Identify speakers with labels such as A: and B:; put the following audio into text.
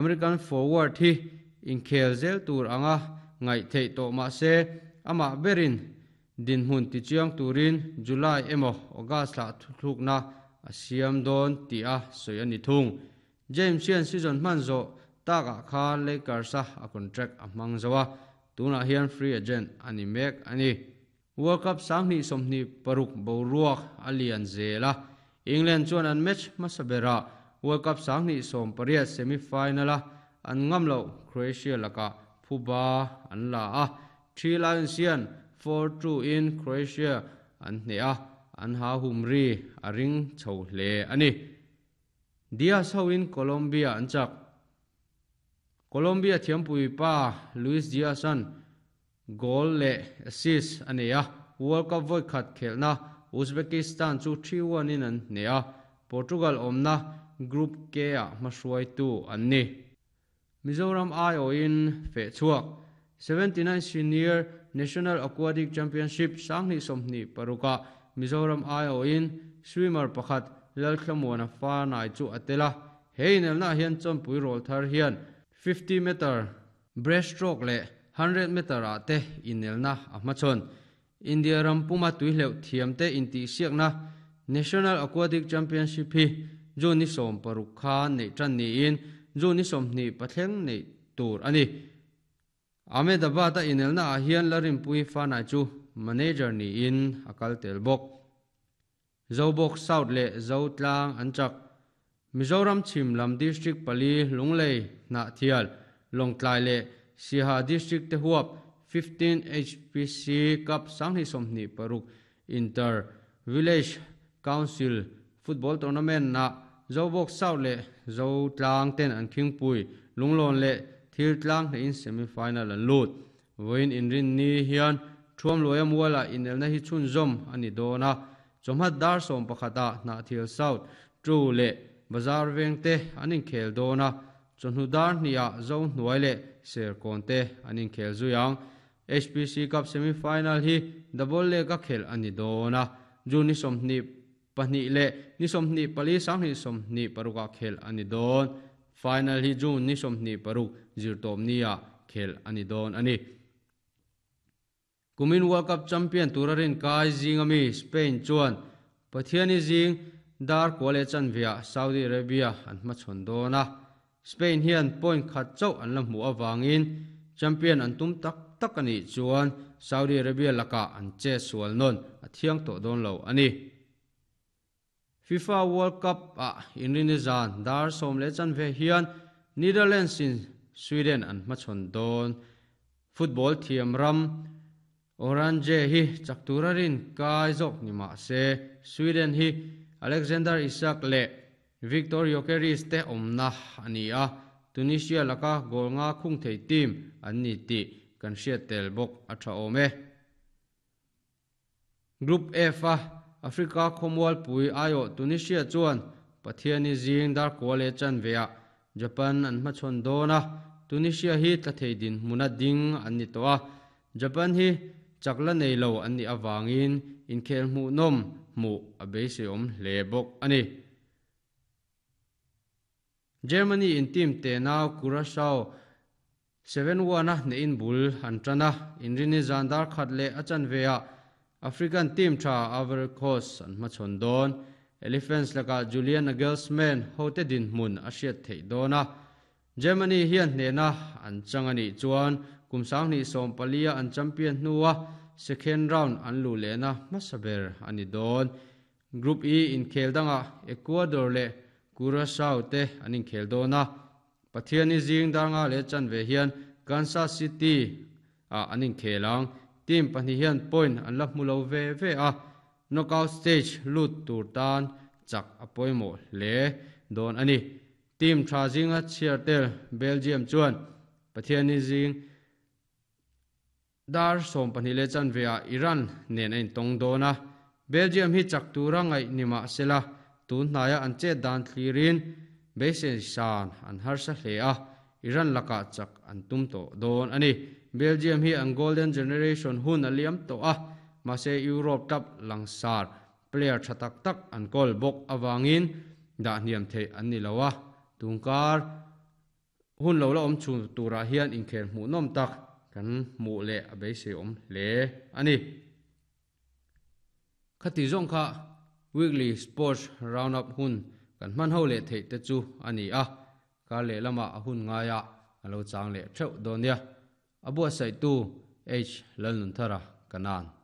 A: American forward hi inkhel zel tur anga ngaih theih tawh mah se, amah berin dinhmun tichiang turin July emaw August thlah thuthlukna a siam dawn tih a sawi a ni thung. James hian season hman zawh takah khan Lakers-a a contract a hmang zo a, tunah hian free agent a ni mek a ni. World Cup 2026 boruak a lian zel a, England chuan an match hmasa berah World Cup 2018 semi-final-a an ngam loh Croatia lakah phuba an la a, Three Lions hian 4-2 in Croatia an hneh a, an ha hum ri a ring chho hle a ni. Diaz hoin Colombia an chak. Colombia thiampui pa Luis Diaz-a'n Goal leh assist a nei a, World Cup vawi khat khelhna Uzbekistan chu 3-1 in an hneh a, Portugal awmna Group K-ah hmahruaitu an ni. Mizoram aiawhin feh chhuak 79 Senior National Aquatic Championship 2026 ah Mizoram aiawhin swimmer pakhat Lalthlamuana Fanai chu a tel a, he inelnaah hian chawnpui rawl thar hian 50 meter Breaststroke leh hundred meter ah te inelna a hmachhawn. India ram puma tuihleuh thiamte intihsiakna National Aquatic Championship hi June ni 60 khan neih tan niin June ni 28 neih tur a ni. Ahmedabad a inelna ah hian Larinpui Fanai chu manager niin a kal tel bawk. Zobawk South leh Zotlang an chak. Mizoram chhim lam District pali Lunglei, Hnahthial, Lawngtlai leh Siaha District te huap 15 HPC Cup 2026 Inter Village Council Football Tournament ah Zobawk South leh Zotlang ten an khingpui Lunglawn leh Thiltlang hnehin semi final an lut. Vawiin inrinni hian Thuamluaia mualah inelna hi chhunzawm a ni dawn a, chawhma dar 11 ah Hnahthial South, Ṭu leh Bazar veng te an inkhel dawn a, chawhnu dar hnih ah Zohnuai leh Serkawn te an inkhel zui ang. HPC Cup semi final hi double leg a khelh a ni dawn a, June ni 22 leh ni 24 2026 ah khelh a ni dawn. Final hi June ni 26 zirtawpni ah khelh a ni dawn a ni. Kumin World Cup champion tura rin kai zing ami Spain chuan Pathiani zing dar kua leh chanveah Saudi Arabia an hmachhawn dawn a. Spain hian point khat chauh an la hmuh avangin champion an tum tak tak a nih chuan Saudi Arabia lakah an che sual nawn a thiang tawh dawn lo a ni. FIFA World Cup ah inrini zan dar sawm leh chanve hian Netherlands in Sweden an hmachhawn dawn. Football thiam ram Oranje hi chak tura rin kai zawk ni mah se Sweden hi Alexander Isak leh Viktor Gyokeres te awmna a ni a, Tunisia laka goal nga khung thei team an ni tih kan hriat tel bawk a tha awm e. Group F a Africa khawmualpui aiawh Tunisia chuan Pathiani zing dar kua leh chanveah Japan an hmachhawn dawn a, Tunisia hi tla thei dinhmuna ding an ni tawh a, Japan hi chak la nei lo an nih avangin inkhel hmuhnawm hmuh a beiseiawm hle bawk a ni. Germany in team tenau Curacao 7-1 a hnehin bul an tan a, inrini zan dar khat leh a chanveah African team tha Ivory Coast an hmachhawn dawn. Elephants lakah Julian Nagelsmann hote dinhmun a hriat theih dawn a, Germany hian hnehna an chang a nih chuan kum 2014 a an champion hnua second round an luh lehna hmasa ber a ni dawn. Group E inkhel dangah Ecuador leh Curacao te an inkhel dawn a, Pathiani zing dar nga leh chanve hian Kansas City ah an inkhel ang. Team pahnih hian point an la hmu lo ve ve a, knockout stage lut tur tan chak a pawimawh hle dawn a ni. Team tha zinga chhiar tel Belgium chuan Pathiani zing dar 12 leh chanveah Iran nen a intawng dawn a, Belgium hi chak tura ngaih ni mah sela tun hnaia an chet dan thlirin beisei san an harsa hle a, Iran lakah chak an tum tawh dawn a ni. Belgium hi an golden generation hun a liam tawh a, mahse Europe club langsar player tha tak tak an kawl bawk avangin dah hniam theih an ni lo a, tungkar. Hun lo la awm chhun turah hian inkhel hmuhnawm tak kan hmuh leh a beiseiawm hle a ni. Khati zawng kha Weekly Sports Roundup hun kan hman ho leh theih te chu a ni a, kar leh lamah a hun ngaiah a lo chang leh theuh dawn nia. A buatsaihtu H Lalnunthara Kanan.